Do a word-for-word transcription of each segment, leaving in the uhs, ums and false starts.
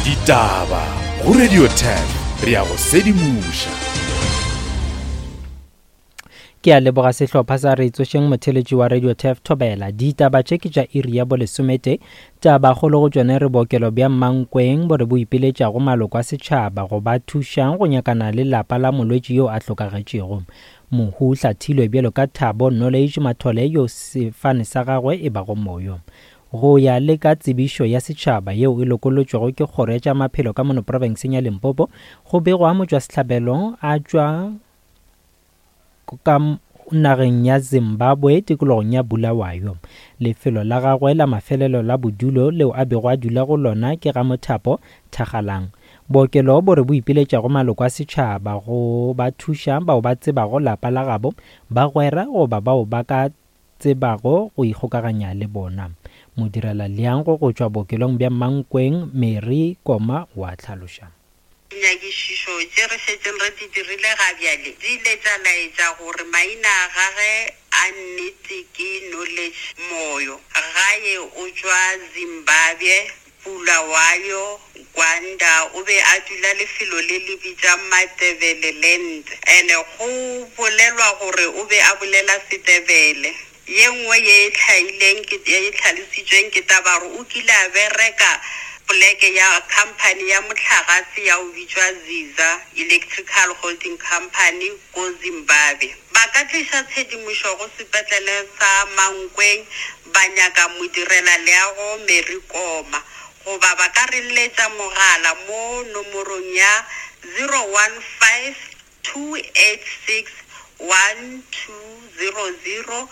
Ditaba go Radio ten re a go sedimoša. Ke a leboga sehlopha sa Re Tsošeng motheletši wa Radio Turf Thobela. Ditaba tše ke tša iri ya bolesomete. Tabakgolo go tšone re bookelo bja Mankweng bo re bo ipiletšago maloko a setšhaba go ba thušang go nyakana le lapa la molwetši yo a hlokagetšego. Mohu o hlathilwe bjalo ka Thabo Knowledge Mathole yo sefane sa gagwe e bago moyo. Go ya le ka tsebišo ya setšhaba yeo e lokolotšwego ke kgoro ya tša maphelo ka mono profenseng ya Limpopo, go begwa motšwasehlabelo a tšwa ka nageng ya Zimbabwe tikologong ya Bulawayo. Lefelo la gagwe la mafelelo la bodulo leo a bego a dula go lona ke ga Mothapo Thagalang. Bookelo bo re bo ipiletšago maloko a setšhaba go ba thuša bao ba tsebago lapa la gabo, bagwera goba bao ba ka tsebago go ikgokaganya le bona. Modirela leango go tšwa bookelong bja Mankweng Mary Koma wa hlaloša. Dinyakišišo tše re šetšeng re di dirile ga bjale di ile tša laetša gore maina a gagwe a nnete ke Knowledge Moyo. Gae o tšwa Zimbabwe, Bulawayo, Gwanda. O be a dula lefelo le le bitša Matebeleland and go bolelwa gore o be a bolela Setebele. Ye nngwe ye e hlaileng ke ye e hlalositšweng ke taba gore o kile a bereka poleke ya company ya mohlagase ya go bitšwa Ziza Electrical Holding Company ko Zimbabwe. Ba ka tliša tshedimošo go sepetlele sa Mankweng ba nyaka modirela leago Mary Koma goba ba ka re letša mogala mo nomorong ya zero one five two eight six one two zero zero.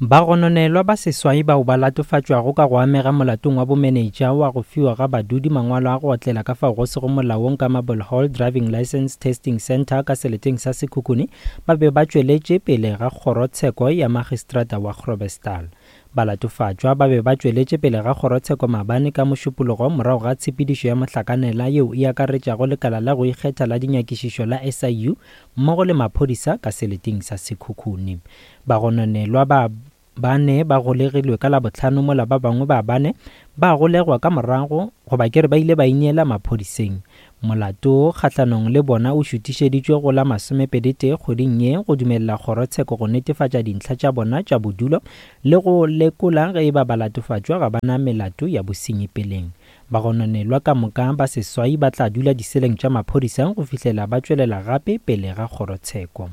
Bagononelwa ba seswai bao ba latofatšwago ka go amega molatong wa bomenetša wa go fiwa ga badudi mangwalo a go otlela ka fao go sego molaong ka Marble Hall Driving License Testing Centre ka seleteng sa Sekhukhune ba be ba tšweletše pele ga kgorotsheko ya magistrata wa Groblersdal. Balatofatšwa ba be ba tšweletše pele ga kgorotsheko maabane ka mošupologo morago ga tshepedišo ya mohlakanela yeo e akaretšago lekala la go ikgetha la dinyakišišo la S I U mmogo le maphodisa ka seleteng sa Sekhukhune. Bagononelwa ba bane ba golegilwe ka Labohlano mola ba bangwe ba bane ba golegwa ka morago goba ke re ba ile ba ineela maphodiseng. Molato kgahlanong le bona o šutišeditšwe go la masomepedi tee kgweding ye go dumelela kgorotsheko go netefatša dintlha tša bona tša bodulo le go lekola ge e ba balatofatšwa ga ba na melato ya bosenyi peleng. Bagononelwa ka moka ba seswai ba tla dula diseleng tša maphodisa go fihlela ba tšwelela gape pele ga kgorotsheko.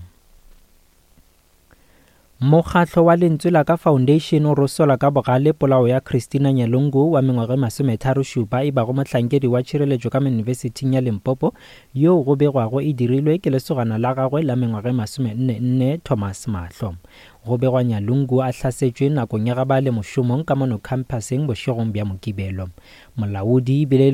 Mokgatlo wa Lentswe la Ka Foundation o rosola ka bogale polao ya Christina Nyalungu wa mengwaga e masometharo šupa e bago mohlankedi wa tšhireletšo ka Yunibesithing ya Limpopo yo go begwago e dirilwe ke lesogana la gagwe la mengwaga e masomenne nne Thomas Mahlo. Go begwa Nyalungu a hlasetšwe nakong ya ga ba le mošomong ka mono campuseng bošegong bja Mokibelo. Molaodi ebile